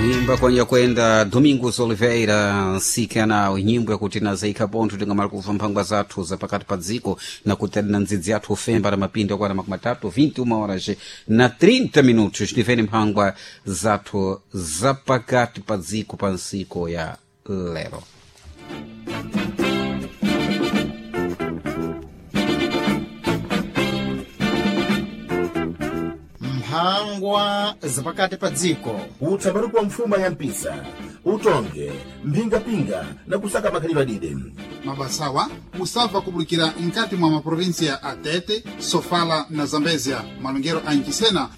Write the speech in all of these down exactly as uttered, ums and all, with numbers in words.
Kuimba kwanja kwenda Domingos Oliveira nsikana nyimbo yakuti nazaika pontho tingamala kuva mphangwa zathu za pakati pa dziko na kuti na ndzidzi yathu ufemba na mapindu akwana makumi atatu vinte e uma horas na trinta minutos. Tivene mphangwa zathu za pakati pa dziko pa nsiko ya lero. Mphangwa zapakati pa dziko. Utsambaruko wa mfuma ya mpisa, utonge mphingapinga na kusaka makhalidwe adide. Mabasawa musabva kubulikira nkati mwa maprovinsia a Tete, Sofala na Zambezia, malongero a Ncisena.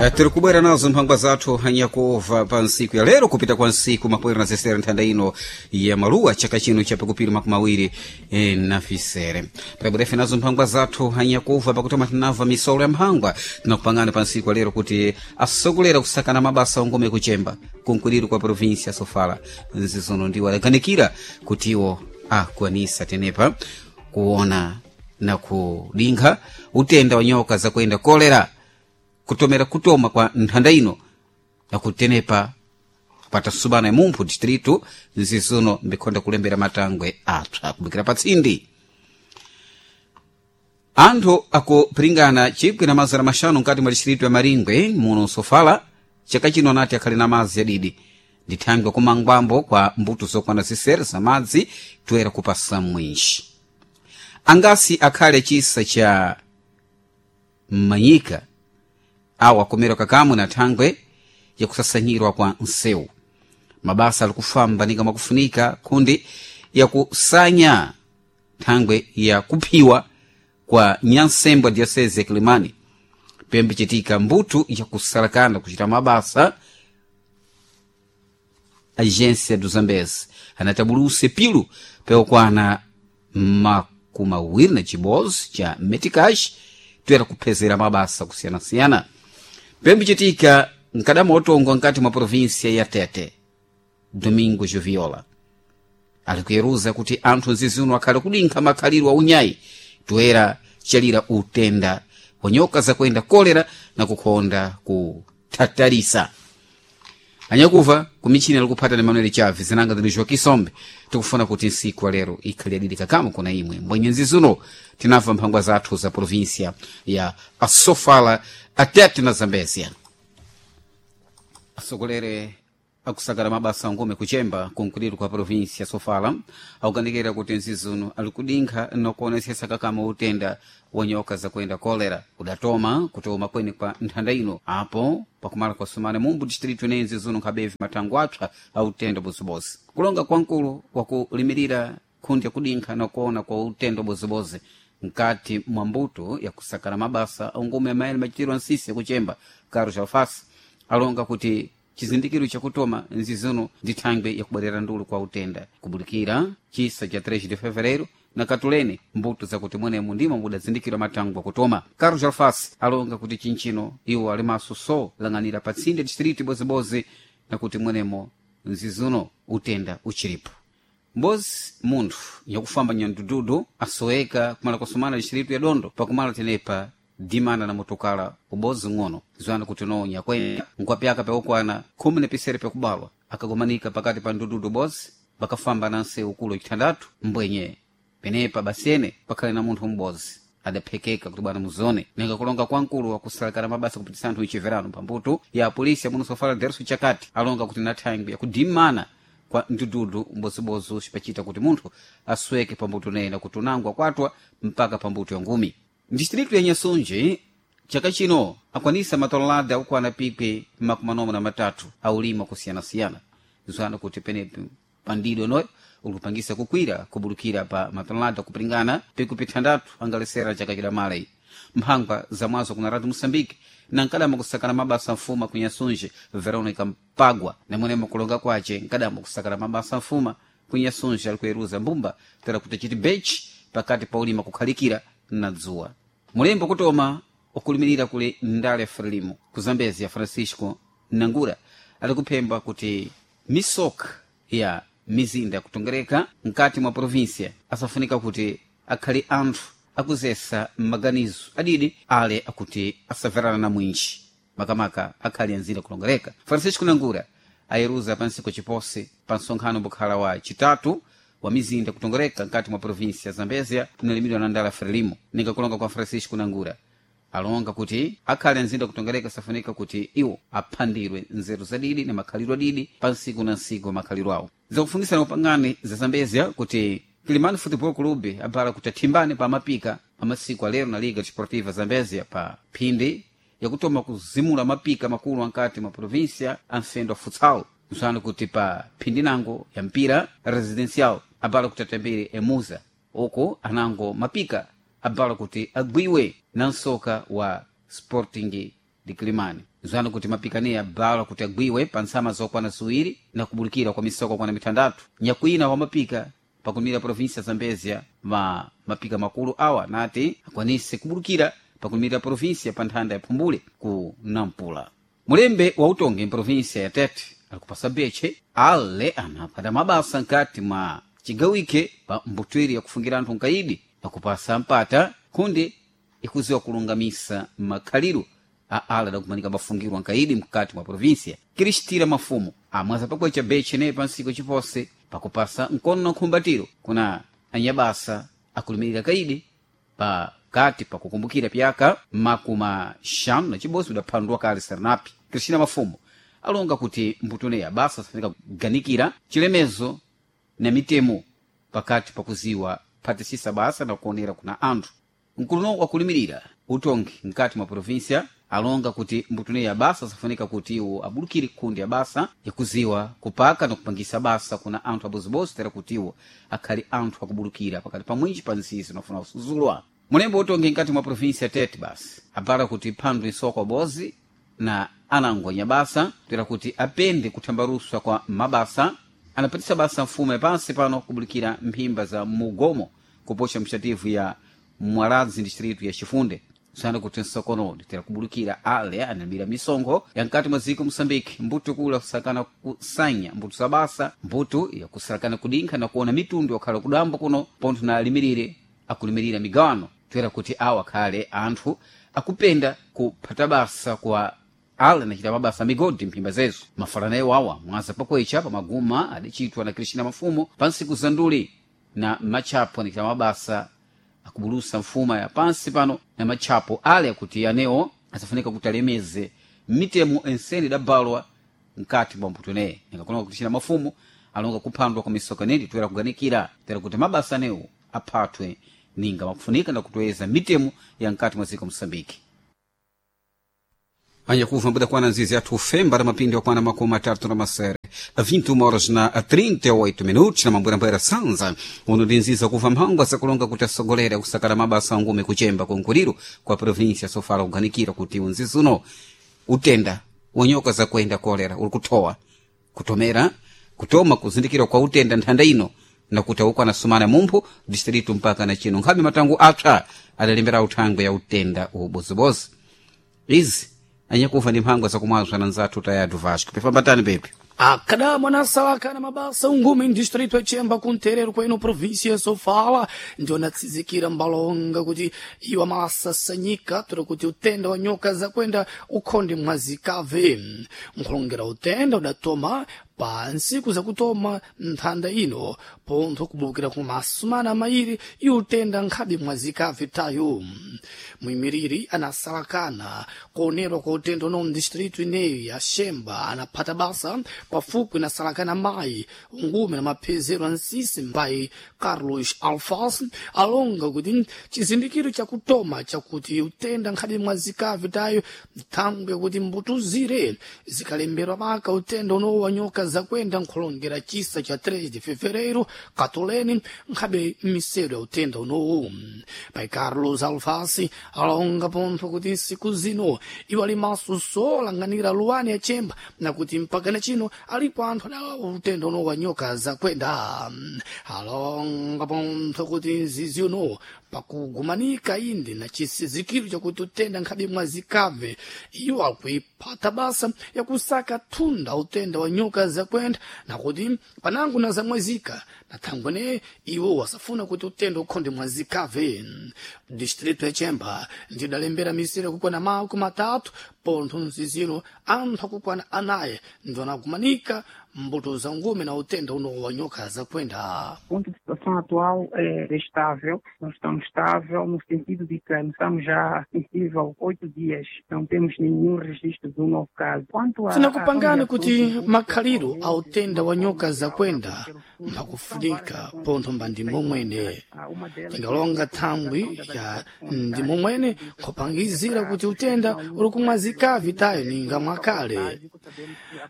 Eh, tiri kubwera nazo mphangwa zathu hanyakuva pa nsiku ya lero kupita kwa nsiku makwera na zesere nthanda ino ya maluwa chaka chino cha pakupiri makumi awiri eh, na fisere. Pabwerefe nazo mphangwa zathu hanyakuva pakutoma tinamva misolo ya mphangwa tinakupangana pa nsiku ya lero kuti asogolera kusakana mabasa ongome kuchemba kunkuliro kwa provinsia ya Sofala nzizono ndiwo adaganikira kuti iwo akwanisa tenepa kuona na kudinkha utenda wa nyoka zakuenda kolera kutomera kutoma kwa nthanda ino nakutenepa patasubana ya mumphu distrito nzizuno mbikhonda kulembera matangwe apsa kubikira patsindi. Anthu akupiringana chikwi na mazana maxanu nkati mwa distrito ya Maringwe muno Sofala chaka chino anati akhali na madzi adidi ndi thangwe kumangwambo kwa mbuto zokwana zisere za madzi toera kupasa mwinji angasi akhale chisa cha Manyika awo akomera kakamwe na thangwe yakusasanyirwa kwa nsewu. Mabasa alikufamba ninga mwakufunika kundi yakusanya thangwe ya kuphiwa kwa nyansembwa diocese ya Kilimani pembe chitika mbuto yakusalakana kuchita mabasa. Agência do Zambeze anatabuluse pilu peokwana makumi awiri na chibozi cha meticage toera kuphezera mabasa kusiyanasiyana pembe chitika nkadama otongo nkati mwa província ya Tete. Domingo Joviola alikuyeruza kuti anthu nziziuno akhale kudinkha makhaliro a unyayi toera chalira utenda wa nyoka zakuenda kolera na kukhonda kuthatalisa. Anyakuva kumichini alikuphata ni Manuel Chaves zinanga zili Joaquim Sombe. Tikufuna kuti nsiku lero ikhali adidi kakamo kuna imwe mbwenye nzizuno tinamva mphangwa zathu za província ya Asofala, Atete na Zambezia. Asogolere akusakala mabasa angome kuchemba kunkuliro kwa província Sofala akukanikira kuti nzizuno alikudinkha nokuonesesa kakama utenda wa nyoka zakuenda kolera udatoma kutoma kweni kwa nthanda ino apo pakumala kwa sumana mumbu distrito ineyi nzizuno nkhabevi mathango apsa a utenda bozibozi. Kulonga kwa mkulu wakulimirira khundi yakudinkha nokuona kwa utenda bozibozi nkati mwa mbuto yakusakala mabasa angume amayele machitiro ansisi yakuchemba Carlos Alfasi alonga kuti chizindikiro chakutoma nzizuno ndi thangwe yakubwerera ndulu kwa utenda kubulikira chisa cha três de fevereiro na katulene mbuto zakuti mwenemu ndimo mudazindikirwa matangwe akutoma. Carlos Alfasi alonga kuti chinchino iwo alimaso so lang'anira patsinde distrito ibozibozi na kuti mwenemo nzizuno utenda uchiripo. Mbozi munthu nyakufamba nyandududu asoweka kumala kusumana distrito ya Dondo pakumala tenepa dimana na motokala ubozi ng'ono zwana kuti no nyakwenda nkwapyaka peukwana khumi na pisere pekubalwa akagomanika pakati pa ndududu bozi bakafamba na nsewu kulo chitandatu mbwenye penepa basene pakhale na munthu m'bozi adaphekeka kuti bwana muzone ninga kulonga kwa mkulu wakusalakana mabasa kupitisa anthu ichiverano pambuto ya polisi ya muno Sofala Derso Chakati alonga kuti na thangwi yakudimana kwa ndududu mbozibozi cipachita kuti munthu asweke pambuto nena kuti unangwa kwatwa mpaka pambuto ya ngumi. Distrito ya Nyasunji chaka chino akwanisa matolada akukwana pikwi makumi manomwe na matatu aulima kusiyanasiyana zwana kuti penepi pandido noyo ulikupangisa kukwira kubulukira pa matonelada kupringana pikwi pithandatu angalesera chaka chidamala iyi. Mphangwa zamwazo kuna Radio Moçambique na nkadama kusakana mabasa mfuma ku Nyasunji Veronica Mpagwa namwenemo kulonga kwace nkadama kusakana mabasa mfuma ku Nyasunji alikuyeruza mbumba tera kuti chiti bechi pakati pa ulima kukhalikira na dzuwa. Mulembo kutoma ukulimirira kuli ndale Frelimo ku Zambezia Francisco Nangura alikuphemba kuti misoka ya mizinda yakutongereka mkati mwa província asafunika kuti akhale anthu akuzesa maganizo adidi ale akuti asaverana na mwinji makamaka akhali anzira kulongereka. Francisco Nangura ayeruza pansiku chipose pa msonkhano mbukhala wa chitatu wa mizinda kutongereka nkati mwa provinsi ya Zambezia kunalimidwa na ndala Frelimo. Ninga kulonga kwa Francisco Nangura alonga kuti akhale anzinda kutongereka safunika kuti iwo aphandirwe nzeru zadidi na makhalidwe adidi pa nsiku na nsiku wa makhalidwe awo. Zakufundisana upangani za Zambezia kuti Kilimani Football Club abala kuti athimbane pa mapika pa masiku alero na Liga Desportiva Zambezia pa phindi yakutoma kuzimula mapika makulu ankati mwa província amfendo wa futsal, kusana kuti pa phindi nango ya mpira residencial abala kuti atambire emuza uku anango mapika abala kuti agwiwe na msoka wa Sporting de Kilimani, zano kuti mapikaniya abala kuti agwiwe pa ntsama zokwana ziwiri na kubulikira kwa misoka okwana mitandatu. Nyakwina wa mapika pakumira província ya Zambezia ma mapika makulu awa nati akwanise kubulikira pakumira província pa nthanda ya Phumbule ku Nampula. Mulembe wa utongi mprovinsia ya Tete alikupasa beche ale anaphata mabasa nkati mwa cigawike pa mbutwiri yakufungira anthu nkaidi pakupasa mpata kundi ikuziwa kulungamisa makhalidwe a ala adakumanika bafungirwa nkaidi mkati mwa provinsia. Kristira Mafumo amwaza pakwecha beche naye pa nsiku chipose pakupasa mkono na nkhumbatiro kuna anyabasa akulumirira kaidi pakati pakukumbukira pyaka makumi xanu na chibodzi udaphandwa kale Serenapi. Cristina Mafumo alonga kuti mbutoneya basa safunika kuganikira chilemezo na mitemo pakati pakuziwa phatisisa basa na kuonera kuna anthu. Mkuluno wakulimirira utongi mkati mwa provinsia alonga kuti mbutoneya basa safunika kuti iwo abulukire kundi ya basa yakuziwa kupaka na kupangisa basa kuna anthu abozibozi tera kuti iwo akhali anthu akubulukira pakati pa mwinji pa nzizi nafuna kusuzulwa. Mulembo utongi mkati mwa provinsia Tete basi abala kuti phandu isoko abozi na anangonya basa tera kuti apende kuthambaruswa kwa mabasa anapatisa basa mfumo yapansi pano kubulikira mphimba za mugomo kupoxa mxativu ya Mwaradzi distritu ya Chifunde sana kuti nsokono nditera kubulikira ale analimira misonkho ya mkati mwa dziko Moçambique mbuto kula kusakana kusanya mbuto za basa mbuto yakusakana kudinkha na kuona mitundu yakhala kudambo kuno pontho na alimirire akulimirira migawano toera kuti awo akhale anthu akupenda kuphata basa kwa ale anachita mabasa migodi mphimba zezo. Mafalanayo awa mwaza pakwecha pamaguma adachitwa na Cristina Mafumo pa nsiku za nduli na matchapo anachita mabasa akubulusa mfuma ya pansi pano na matchapo ale akuti anewo asafunika kuti alemeze mitemo ensene idabalwa mkati mwa mputo neye. Ningakulonga Cristina Mafumo alonga kuphandwa kwa misoka nedi toera kuganikira tera kuti mabasa anewo aphathwe ninga makufunika na kutoweza mitemo ya mkati mwa dziko Moçambique. Anyakuva mbuda kwana nzizi athu femba ra mapindi wakwana makumi atatu na masere vinte e uma horas na trinta e oito minutos na mambwerambwera sanza uno ndi nziza kuva mphangwa zakulonga kuti asogolera kusakala mabasa angume kuchemba konkuliro kwa provinsia sofala kuganikira kuti unzizi uno utenda wanyoka zakuenda kolera uli kuthowa kutomera kutoma kuzindikira kwa utenda nthanda ino nakuti awukwana sumana mumphu distritu mpaka na chino nkhabe matango apsa adalembera uthangwe ya utenda ubozibozi izi anyakufa ndi mphangwa zakumwazwa na nzathu tayadu Vasco pefambatani pepe. Akada mwanasalaka na mabasa ungumi ndistrito echemba kunterero kwenu província Sofala ndio natsizikira mbalonga kuti iwa masasanyika tora kuti utenda wa nyoka zakwenda ukhonde mwazikave nkhulongera utenda udatoma pa nsiku zakutoma nthanda ino pontho kubulukira ku masumana mairi iutenda nkhabe mwazikave tayo. Muimiriri anasalakana kuonerwa kwa utenda uno mdistritu ineyi ya Xemba anaphata basa pafupi nasalakana mayi ungume na maphezero a nsisi mbayi Carlos Alfas alonga kuti chizindikiro chakutoma chakuti utenda nkhabe mwazikave tayo nthangwe kuti mbutuzire zikalemberwa maka utenda uno wa nyoka zakwenda nkhulongera chisa cha três de fevereiro katoleni nkhabe misero ya utenda unowu. Pai Carlos Alfasi alonga pontho kuti nsiku zino iwo ali maso solanganira luwani ya chemba nakuti mpaka na chino alipo anthu adawa utenda uno wa nyoka zakwenda. Alonga pontho kuti nzizi uno Pakugumanika indi na chisizikiro chakuti utenda nkhabe mwazikave, iwo akuipata basa yakusaka thunda utenda wa nyoka zakwenda nakuti panango na zamwezika na thangwene iwo wasafuna kuti utenda ukhonde mwazikave. Distrito ya Chemba ndidalembera misere kukwana makumi matatu pontho mzizino anthu akukwana anayi ndiwo anagumanika mbuto za ngume na utenda uno wa nyoka zakwenda. Ponto de situação atual é estável, nós estamos estável no sentido de que estamos já sensível oito dias, não temos nenhum registro de um novo caso. Quanto a Tinakupangani kuti makhaliro a utenda wa nyoka zakwenda mphakufunika pontho mba ndi momwene tingalonga thangwi ya ndi momwene khupangizira kuti utenda uli kumwazikavi tayo ninga mwakale.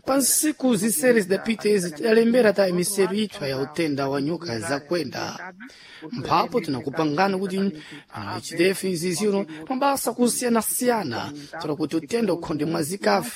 Pa nsiku zisere zidapita izi tidalembera tayo miseru ipsa ya utenda wa nyoka zakwenda. Mphapo tinakupangani kuti chitefu iziziro mabasa kusiyanasiyana tola kuti utenda ukhonde mwazikavi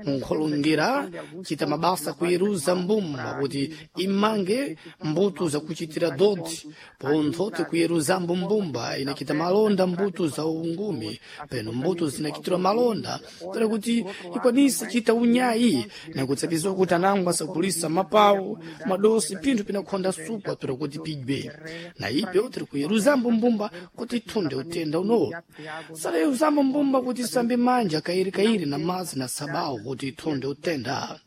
nkholongera chita mabasa kuyeruza mbumba kuti imange mbuto zakuchitira dodi pontho tikuyeruzambo mbumba inachita malonda mbuto za ungumi peno mbuto zinachitirwa malonda tola kuti ikwanise chita unyayi nakutsapizwa kuti anango asagulisa mapawu madosi pinthu pinakhonda supwa tola kuti pidwe na ipyo tiri kuyeruzambo mbumba kuti ithunde utenda unowo. Salayuzambo mbumba kuti isambe manja kairikairi na madzi na sabawo kuti ithunde utenda.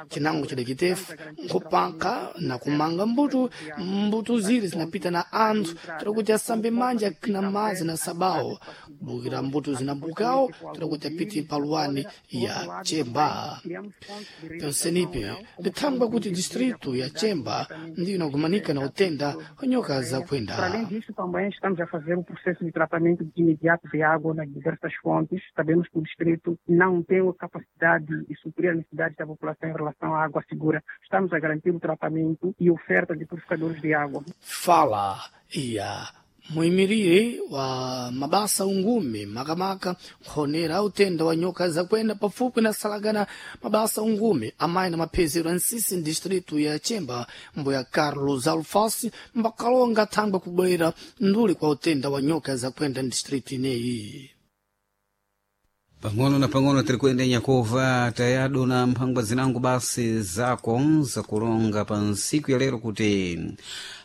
Chinango chidakitefu nkupaka na kumanga mbuto mbuto ziri zinapita na anthu tola kuti asambe manja na madzi na sabawo kubukira mbuto zinabukawo tola kuti apite paluwani ya Chemba. Pensenipe lithangwa kuti distrito ya Chemba ndiyo inagumanika na utenda wa nyoka zakwenda. Para além disso, também estamos a fazer o processo de tratamento de imediato de água nas diversas fontes. Sabemos que o distrito não tem a capacidade de suprir as necessidades da população em relação à água segura. Estamos a garantir o tratamento e oferta de purificadores de água. Fala ya muimirire wa mabasa ungume makamaka nkhonera utenda wa nyoka zakwenda pafupi na salagana mabasa ungume amayi na maphezero a nsisi distrito ya Chemba mbuya Carlos Alfasi mbakalonga thangwe kubwera nduli kwa utenda wa nyoka zakwenda distrito ineyi. Pang'ono na pang'ono tiri kuenda nyakova tayado na mphangwa zinango basi zako zakulonga pa nsiku ya lero kuti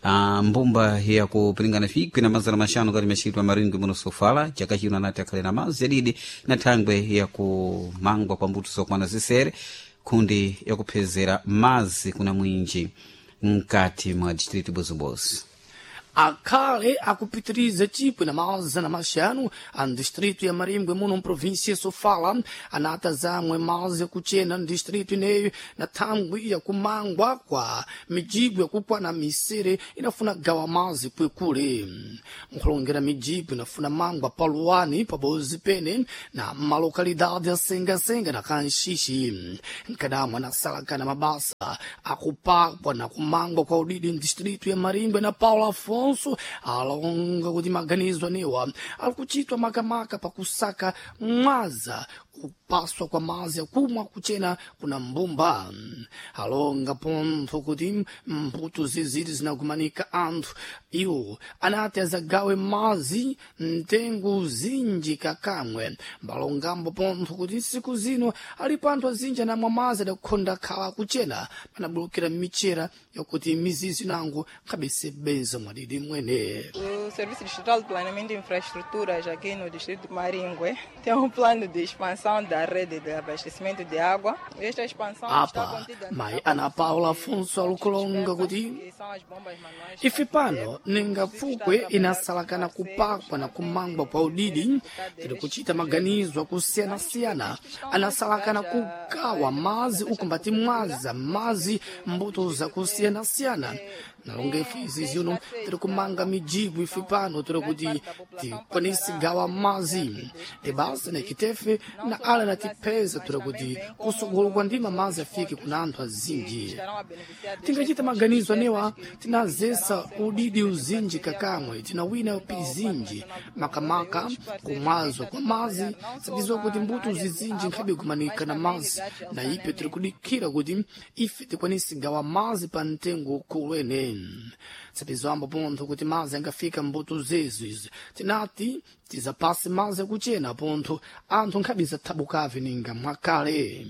ah, mbumba yakupilingana fikwi na mazana maxanu kati machitwa maringwi muno Sofala chaka chino anati akhale na mazi yadidi na thangwe yakumangwa kwa mbuto zokwana zisere khundi yakuphezera mazi kuna mwinji mkati mwa distrito Bozobozi. Akhale akupitiriza chipwi na mazana maxanu a distrito ya Marimbwe muno mprovíncia Sofala anata zamwe mazi yakuchena ndistrito ineyo na thangwi yakumangwa kwa mijibu yakukwana misere inafuna gawa mazi kwekule. Nkhulongera mijibu inafuna mangwa paluwani pabozi pene na malokalidade asengasenga na kanxixi nkadamwe anasalakana mabasa akupakwa na kumangwa kwa udidi ndistrito ya Marimbwe na Paulo Afonso alonga kuti maganizo anewa alikuchitwa makamaka pakusaka mwaza kupaswa kwa mazi akumwa kuchena kuna mbumba. Alonga pontho kuti mbuto ziziri zinagumanika anthu iwo anati azagawe mazi mtengo zinji kakamwe. Mbalongambo pontho kuti nsiku zino alipo anthu azinji anamwa mazi adakukhonda khala kuchena panabulukira michera yakuti mizizi nango nkhabesebeza mwadidi mwene. O Serviço Distrital de Planeamento e Infraestruturas aqui no Distrito de Maringue tem um plano de expansão da rede de abastecimento de água. Esta expansão está Apa contida mayi Ana Paula Afonso alukulonga kuti que são as bombas manuais. ife pano ningapfukwe inasalakana kupakwa na kumangwa kwa udidi tiri kuchita maganizo akusiyana-siyana anasalakana kugawa mazi ukumbati mwaza mazi mbuto zakusiyana-siyana nalonga ife izi zino tiri kumanga mijibu ife pano tiri kuti tikwanise gawa mazi tibasa nekitefe na ala natipeza tiri kuti kusogolo kwa ndima mazi afike kuna anthu azinji. Tingachita maganizo anewa tinazesa udidi uzinji kakamwe tinawina pizinji makamaka kumwazwa kwa mazi sabizwa kuti mbuto zizinji nkhabe kumanika na mazi na ipe tiri kudikira kuti ife tikwanise gawa mazi pa mtengo ukhulu ene. Tsapizwambo pontho kuti mazi angafika mbuto zezo izi tinati tizapase mazi akuchena pontho anthu nkhabiza thabukavi ninga mwakale.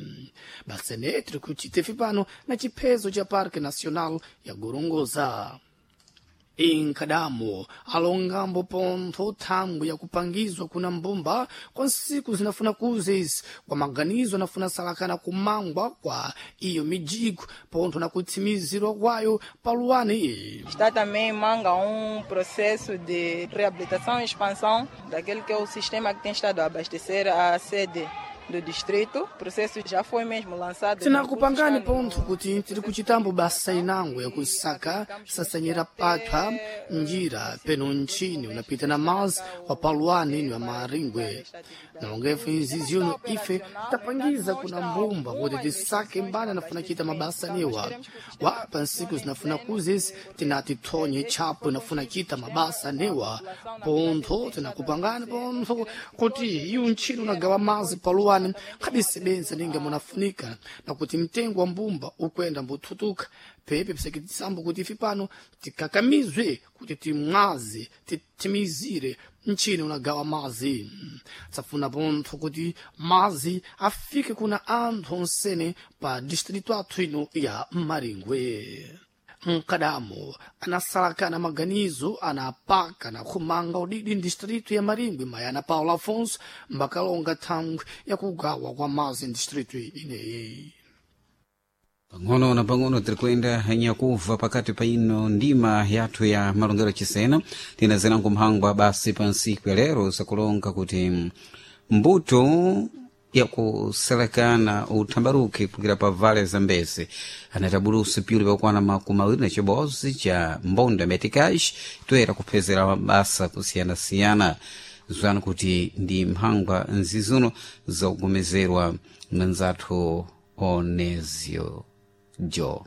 Basene tiri kuchitefi pano na chiphezo cha Parque Nacional ya Gorongosa. Inkadamo alongambo pontho thangwi yakupangizwa kuna mbumba kwa nsiku zinafuna kuza izi kwa maganizo anafuna salakana kumangwa kwa iyo mijigo pontho na kutsimizirwa kwayo paluwani. Está também em manga um processo de reabilitação e expansão daquele que é o sistema que tem estado a abastecer a sede do distrito. O processo já foi mesmo lançado. Tinakupangani pontho kuti tiri kuchitambo basa inango yakusaka sasanyira patha njira peno ntchini unapita na mazi wa paluwani ni wa Maringwe. Nalongefu izi zino ife tapangiza kuna mbumba kuti tisake mbali anafuna chita mabasa niwa wapa nsiku zinafuna kuzisi tinati thonye chapo inafuna chita mabasa niwa pontho tinakupangani pontho kuti iyu ntchini unagawa mazi paluwani khabisebenza ninga munafunika na kuti mtengo wa mbumba ukwenda mbuthutuka pepe piseketisambo kuti ife pano tikakamizwe kuti timwaze titimizire mchini unagawa mazi. Tsafuna pontho kuti mazi afike kuna anthu onsene pa distritu athu ino ya Maringwe. Mkadamo anasalakana maganizo anapaka na khumanga udidi ndistritu ya Maringwe mayana Paulo Afonso mbakalonga thangwi yakugawa kwa mazi ndistritu ineyi. Pang'ono na pang'ono tiri kuyenda nyakuva pakati pa ino ndima yathu ya malongero chisena tinazenango mphangwa basi pa nsiku ya lero zakulonga kuti mbuto yakuselekana uthambaruke kukira pa vale Zambezi anatabulusa pyuli pakwana makumi awiri na chibodzi cha mbonda metikash toyera kuphezera mabasa kusiyanasiyana zwana kuti ndi mphangwa nzizuno zakugomezerwa mnzathu Onezio Jo.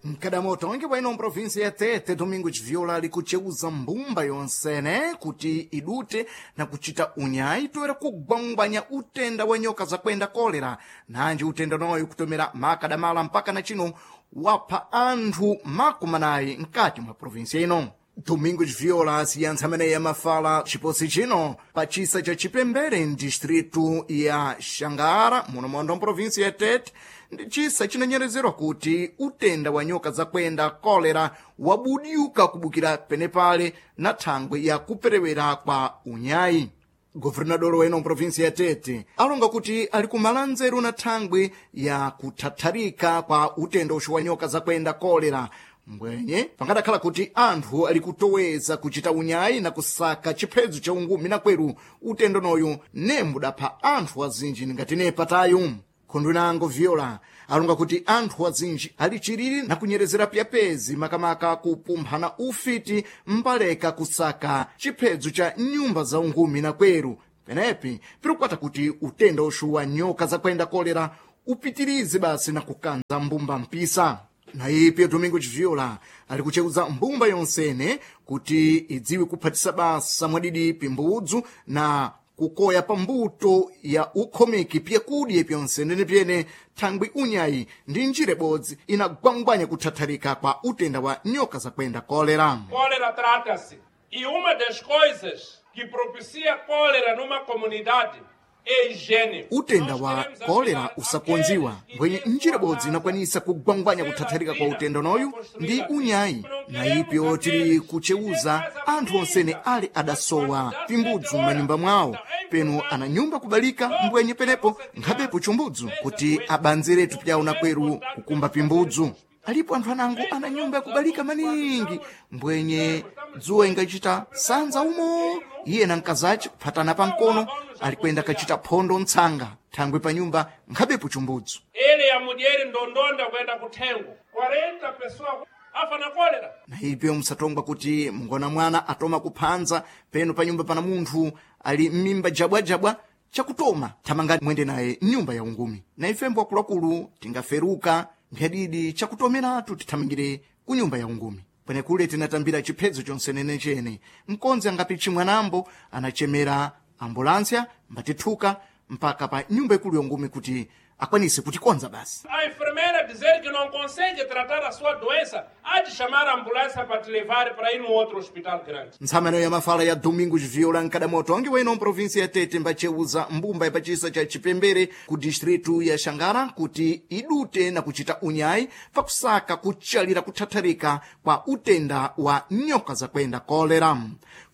Mkadamoto onge bwaino mprovinsi ya Tete Domingos Viola ali kucheuza mbumba yonsene kuti idute na kuchita unyayi toera kugwangwanya utenda wa nyoka zakwenda kolera nanji utenda noyo kutomera makadamala mpaka na chino wapha anthu makumanayi mkati mwa provinsi ino. Domingos Viola asiyantsa ameneyi amafala chiposi chino pa chisa cha Chipembere mdistritu ya Xangara muno mondo mprovinsi ya Tete ndi chisa chinanyerezerwa kuti utenda wa nyoka zakwenda kolera wabudyuka kubukira penepale na thangwe ya kuperewera kwa unyayi. Governador weno mprovinsi ya Tete alonga kuti ali kumala nzeru na thangwe ya kuthatharika kwa utenda uxu wa nyoka zakwenda kolera mbwenye pangadakhala kuti anthu ali kutoweza kuchita unyayi na kusaka chiphedzo cha ungumi na kweru utendo noyu nembudapha anthu azinji ngati nepatayu. Khundu inango Viola alonga kuti anthu azinji ali chiriri na kunyerezera pyapezi makamaka kupumphana ufiti mbaleka kusaka chiphedzo cha nyumba za ungumi na kweru penepi pirikwata kuti utenda uxu wa nyoka zakwenda kolera upitirize basi na kukanza mbumba mpisa. Na ipi Domingos Viola ali kucheuza mbumba yonsene kuti idziwe kuphatisa basa mwadidi pimbudzu na kukoya pambuto ya ukhomeki pyakudya pyonsenene pyene thangwi unyayi ndi njira ibodzi inagwangwanya kuthatharika kwa utenda wa nyoka zakwenda kolera. Cólera trata-se. E uma das coisas que propicia cólera numa comunidade é higiene. Utenda wa kolera usakonziwa mbwenye njira ibodzi inakwanisa kugwangwanya kuthatharika kwa utenda noyu ndi unyayi na ipyo tili kucheuza anthu onsene ali adasowa pimbudzu m'manyumba mwawo penu ana nyumba kubalika mbwenye penepo nkhabepo chumbudzu kuti abanzeretu pyawo na kweru kukumba pimbudzu. Alipo anthu anango ana nyumba yakubalika maningi mbwenye dzuwa ingachita sanza umo iye na mkazace kuphatana pamkono alikwenda kachita phondo mtsanga thangwe pa nyumba nkhabepo chumbudzu. Ele a mulher ndondonda kuenda kuthengo quarenta pessoas afa na cólera. Na ipyo msatongwa kuti mngona mwana atoma kuphanza peno pa nyumba pana munthu ali m'mimba jabwajabwa chakutoma thamanga mwende naye mnyumba ya ungumi. Na ifembo akuluakulu tingaferuka mphadidi chakutomeratu tithamangire ku nyumba ya ungumi. Pwenekule tinatambira chiphedzo chonsenene chene mkonzi angapichi mwanambo anachemera ambulansia mbatithuka mpaka pa nyumba ikulu ya ungumi kuti Akwanise kutikonza basi. A enfermeira dizer que não consegue tratar a sua doença, há de chamar a ambulância para te levar para ir num outro hospital grande. Ntsamano ya mafala ya Domingos Viola nkadamoto angi weno mprovinsi ya Tete mbacheuza mbumba ya pachisa cha Chipembere ku distritu ya Xangara kuti idute na kuchita unyayi pakusaka kuchalira kuthatharika kwa utenda wa nyoka zakwenda kolera.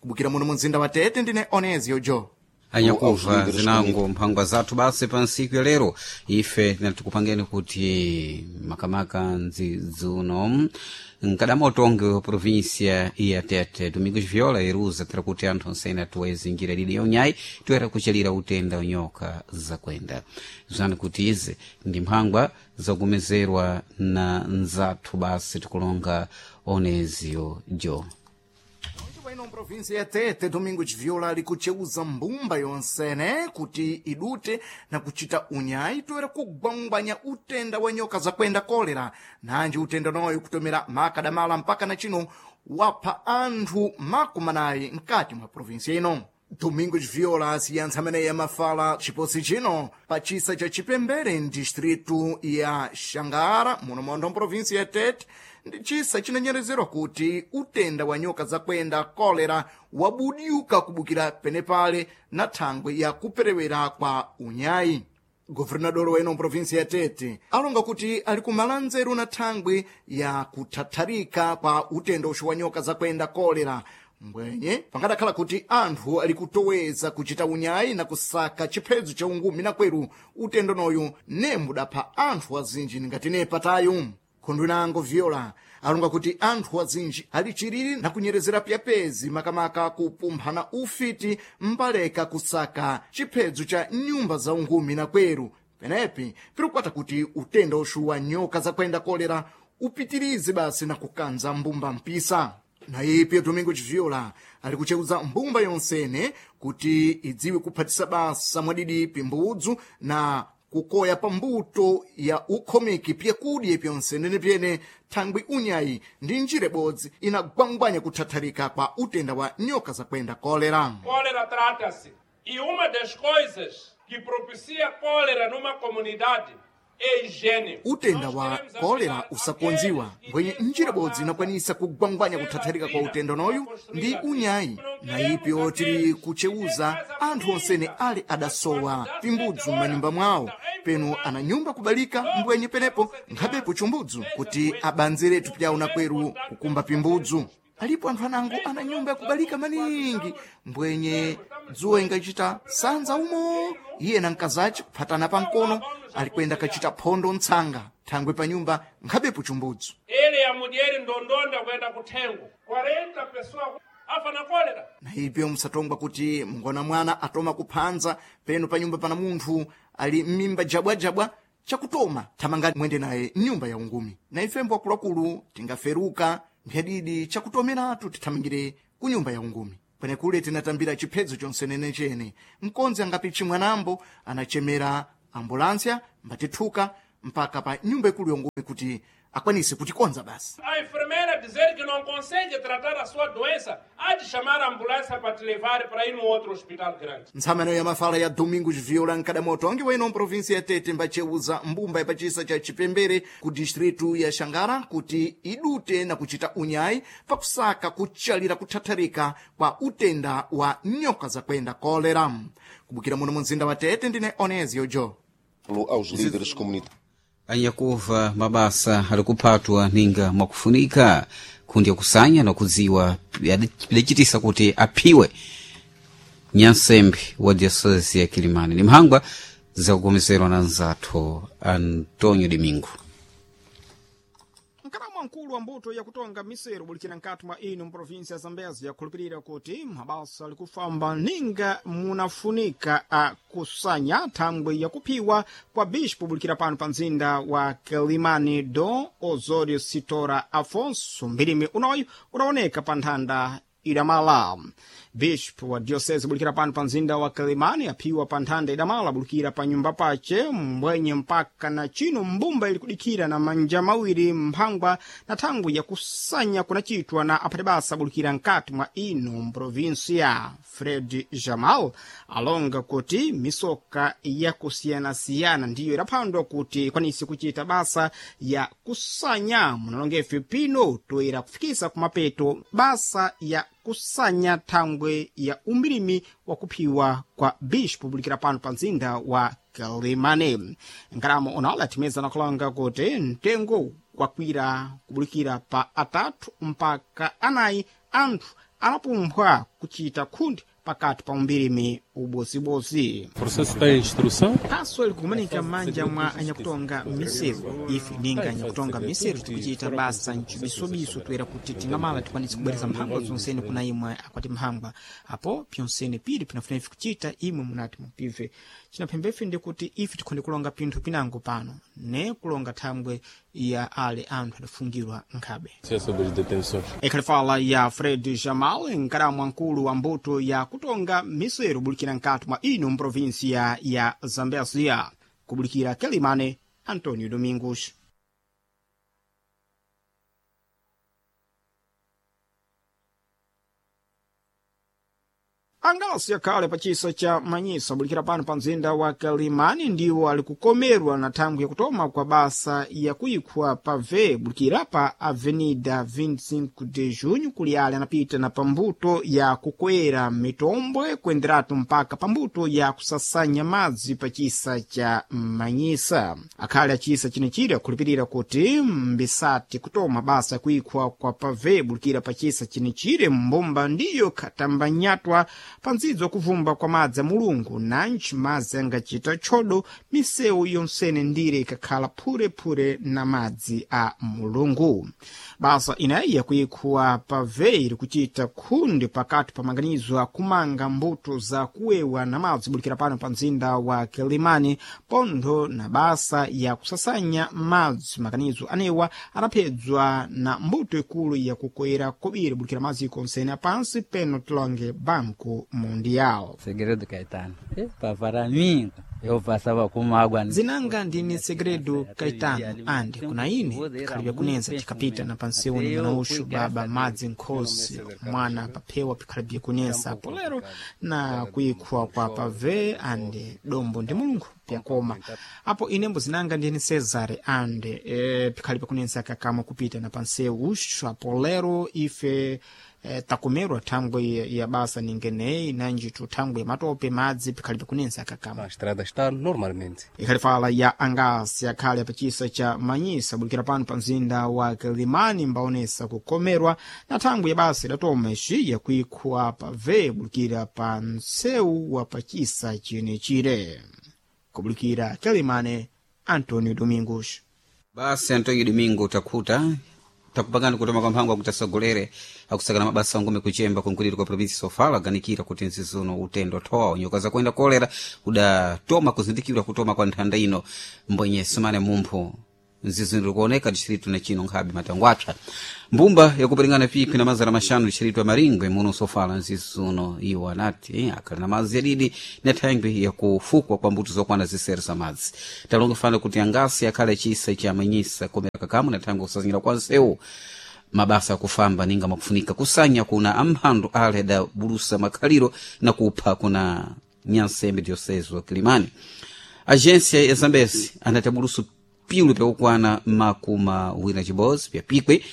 Kubukira muno mumzinda wa Tete ndine Onezio Jo. Anyakuva zinango mphangwa zathu basi pa ntsiku ya lero ife tinatikupangeni kuti makamaka ndzidzuno mkadamotonge wa província ya Tete Domingos Viola iruza tira kuti anthu onsene atuweze njira lili ya unyayi toera kuchalira utenda unyoka zakwenda zani kuti izi ndi mphangwa zakumezerwa na nzathu basi tikulonga Onezio Jo. Ino província ya Tete Domingos Viola ali kucheuza mbumba yonsene kuti idute na kuchita unyayi toera kugwangwanya utenda wa nyoka zakwenda kolera. Nanji utenda noyo kutomera makadamala mpaka na chino wapha anthu makumanayi mkati mwa província ino. Domingos Viola asiyantsa amene yamafala chiposi chino pa chisa cha Chipembere mdistritu ya Xangara muno mondo mprovinsi ya Tete ndi chisa chinanyerezerwa kuti utenda wa nyoka zakwenda kolera wabudyuka kubukira penepale na thangwe ya kuperewera kwa unyayi. Governador wa ino mprovinsi ya Tete alonga kuti ali kumala nzeru na thangwe ya kuthatharika kwa utenda uxu wa nyoka zakwenda kolera mbwenye pangadakhala kuti anthu ali kutoweza kuchita unyayi na kusaka chiphedzo cha ungumi na kweru utendo noyu nembudapha anthu azinji ngati nepatayu. Khundu inango Viola alonga kuti anthu azinji ali chiriri na kunyerezera pyapezi makamaka kupumphana ufiti mbaleka kusaka chiphedzo cha nyumba za ungumi na kweru penepi pirikwata kuti utenda uxu wa nyoka zakwenda kolera upitirize basi na kukanza mbumba mpisa. Na ipi Domingos Viola ali kucheuza mbumba yonsene kuti idziwe kuphatisa basa mwadidi pimbudzu na kukoya pambuto ya ukhomeki pyakudya pyonsenene pyene thangwi unyayi ndi njira ibodzi inagwangwanya kuthatharika kwa utenda wa nyoka zakwenda kolera. Cólera trata-se. E uma das coisas que propicia cólera numa comunidade é higiene. Utenda wa kolera usakonziwa mbwenye njira ibodzi inakwanisa kugwangwanya kuthatharika kwa utenda noyu ndi unyayi na ipyo tili kucheuza anthu onsene ali adasowa pimbudzu m'manyumba mwawo penu ana nyumba kubalika mbwenye penepo nkhabepo chumbudzu kuti abanzeretu pyawo na kweru kukumba pimbudzu. Alipo anthu anango ana nyumba yakubalika maningi mbwenye dzuwa ingachita sanza umo iye na mkazace kuphatana pamkono alikwenda kachita phondo ntsanga thangwe pa nyumba nkhabepo chumbudzu. Ele ya mulher ndondonda kuenda kuthengo quarenta pessoas afa na cólera. Na ipyo musatongwa kuti mngona mwana atoma kuphanza peno pa nyumba pana munthu ali m'mimba jabwajabwa chakutoma thamanga mwende naye mnyumba ya ungumi. Na ifembo akuluakulu tingaferuka mphadidi chakutomeratu tithamangire ku nyumba ya ungumi. Kwenekule tinatambira chiphedzo chonsenene chene mkonzi angapichi mwanambo anachemera ambulansia mbatithuka mpaka pa nyumba ikulu yongumi kuti akwanise kutikonza basi. A enfermeira dizer que não consegue tratar a sua doença, há de chamar a ambulância para te levar para ir num outro hospital grande. Ntsamano ya mafala ya Domingos Viola nkadamoto angi weno mprovinsi ya Tete mbacheuza mbumba ya pachisa cha Chipembere ku distritu ya Xangara kuti idute na kuchita unyayi pakusaka kuchalira kuthatharika kwa utenda wa nyoka zakwenda kolera. Kubukira muno mumzinda wa Tete ndine Onezio Jo. Aos líderes comunitários. Anyakuva mabasa ali kuphatwa ninga mwakufunika kundi yakusanya na kudziwa pidacitisa kuti aphiwe nyansembe wa diocese ya Kilimani. Ni mphangwa zakukomezerwa na nzathu Antonio Domingo. Mkalamu mkulu wa mbuto yakutonga miseru bulikira nkati mwa ino mprovinsi ya Zambezi yakhulupirira kuti mabasa alikufamba ninga munafunika akusanya thangwe yakuphiwa kwa bispo bulikira pano pa mzinda wa Kilimani Dom Osório Sitora Afonso. Mbilimi unoyu unaoneka pa nthanda ilamala Bishop wa diocese bulikira pano pa mzinda wa Quelimane aphiwa pa nthanda idamala bulikira pa nyumba pace mbwenye mpaka na chino mbumba ili kudikira na manja mawiri mphangwa na thangwi yakusanya kunachitwa na aphati basa bulikira nkati mwa ino mprovinsia. Fred Jamal alonga kuti misoka yakusiyanasiyana ndiyo idaphandwa kuti ikwanise kuchita basa ya kusanya munalongefe pino toera kufikisa kumapeto basa ya kusanya thangwe ya umbirimi wa kuphiwa kwa bishop bulikira pano pa mzinda wa Quelimane. Nkalamo onala athimeza nakulonga kuti mtengo wakwira kubulikira pa atatu mpaka anayi anthu anapumphwa kuchita khundi pakati pa umbirimi ubozibozi. Processo está em instrução. Phaso likumanika m'manja mwa anyakutonga miseru. Ife ninga anyakutonga miseru tikuchita basa mcibisobiso toera kuti tingamala tikwanise kubwereza mphangwa zonsene kuna imwe akwati mphangwa apo pyonsene pili pinafuna ife kuchita imwe munati mupive. Cinaphembefe ndi kuti ife tikhonde kulonga pinthu pinango pano ne kulonga thangwe ya ale anthu adafungirwa nkhabe. Sobre as detenções. Ikhalifala ya Fred Jamal, nkalamu mkulu wa mbuto ya kutonga miseru bulikira nkati mwa ino mprovinsia ya Zambezia. Kubulikira Quelimane, Antonio Domingos. Angasi akhale pa chisa cha Manyisa bulikira pano pa mzinda wa Quelimane ndiwo ali kukomerwa na thangwi yakutoma kwa basa yakuikhwa pa V bulikira pa Avenida vinte e cinco de Junho kuli ale anapita na pambuto ya kukwera mitombwe kuenderatu mpaka pambuto ya kusasanya madzi pa chisa cha Manyisa. Akhale achisa chinechiri akhulupirira kuti mbisati kutoma basa yakuikhwa kwa pave bulikira pa chisa chinechire mbomba ndiyo khatambanyatwa panzidzo wakuvumba kwa madzi a mulungu nanji madzi angachita tchodo misewu yonsene ndire ikakhala phurephure na madzi a mulungu. Basa inayi yakuikhuwa pave iri kuchita khundi pakati pa maganizo akumanga mbuto za kuwewa na madzi bulikira pano pa mzinda wa Quelimane pontho na basa ya kusasanya madzi. Maganizo anewa anaphedzwa na mbuto ikulu yakukwera kobiri bulikira maziko onsene apansi peno tilonge banku Mundial. Segredo Caetano. Epa, para mim, eu passava com água. Zinanga ndine Segredo Caetano ande kuna ine pikhalibya kunenza tikapita na pansewu ni mwana uxu baba madzi nkhosi mwana paphewa pikhalibya kunensa polero na kuikhwa kwa pave ande dombo ndi mulungu pyakoma apo inembo zinanga ndine Cesare ande e, pikhalibya kunensa kakamwe kupita na pansewu uxu apo lero ife e, takomerwa thangwe ya basa ningeneyi nanjitu thangwe ya matope madzi pikhalibe kunensa kakamwe. A estrada está normalmente. Ikhalifala ya angasi akhale pachisa cha Manyisa bulikira pano pa mzinda wa Quelimane mbaonesa kukomerwa na thangwi ya basa idatoma ixi yakuikhwa pa v bulikira pa msewu wa pachisa chinechire. Kubulikira Quelimane, Antonio Domingos. Basi Antonio Domingo takhuta takupangani kutoma kwa mphango akuti asogolere akusakana mabasa angome kuchemba kunkuliro kwa provinsi Sofala aganikira kuti nzizuno utendo thowa nyoka zakuenda kolera udatoma kuzindikirwa kutoma kwa nthanda ino mbwenye sumane mumphu nzizuno likuoneka distritu na chino nkhabe matango apsa mbumba yakuperingana pikwi na mazana maxanu distritu ya Maringwe muno Sofala nzizuno iwo anati eh, akhala na madzi yadidi na thangwi yakufukwa kwa mbuto zokwana zisere za madzi talonga fana kuti angasi akhale chisa cha manyisa komera kakamu na thangwi kusazingira kwa nsewu mabasa akufamba ninga makufunika kusanya kuna amphandu ale da bulusa makhaliro na kupha kuna nyansembe diosezo Kilimani. Agência ya Zambezi anati abulusu pilu pyakukwana makumi awiri na chibodzi pyapikwe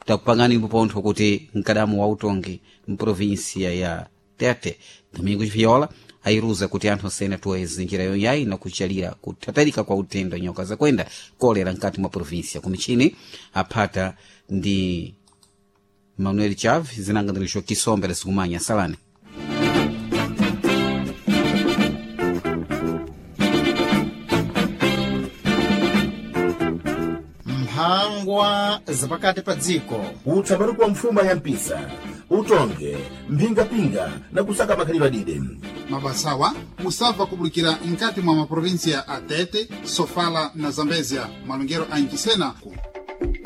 takupangani pontho kuti mkadamu wa utongi mprovinsia ya Tete Domingos Viola ayiruza kuti anthu osene atuweze njira yonyayi na kuchalira kuthatalika kwa utendo nyoka zakwenda kolera mkati mwa provinsia kumichini aphata ndi Manuel Chaves zinangandirisho kisombe lasikumanya salani. Mphangwa zapakati pa dziko. Utsamani kwa mfuma ya mpisa utonge mphingapinga na kusaka makhalidwe adide. Mabasawa musabva kubulikira nkati mwa maprovinsia a Tete, Sofala na Zambezia malongero a Nchisena.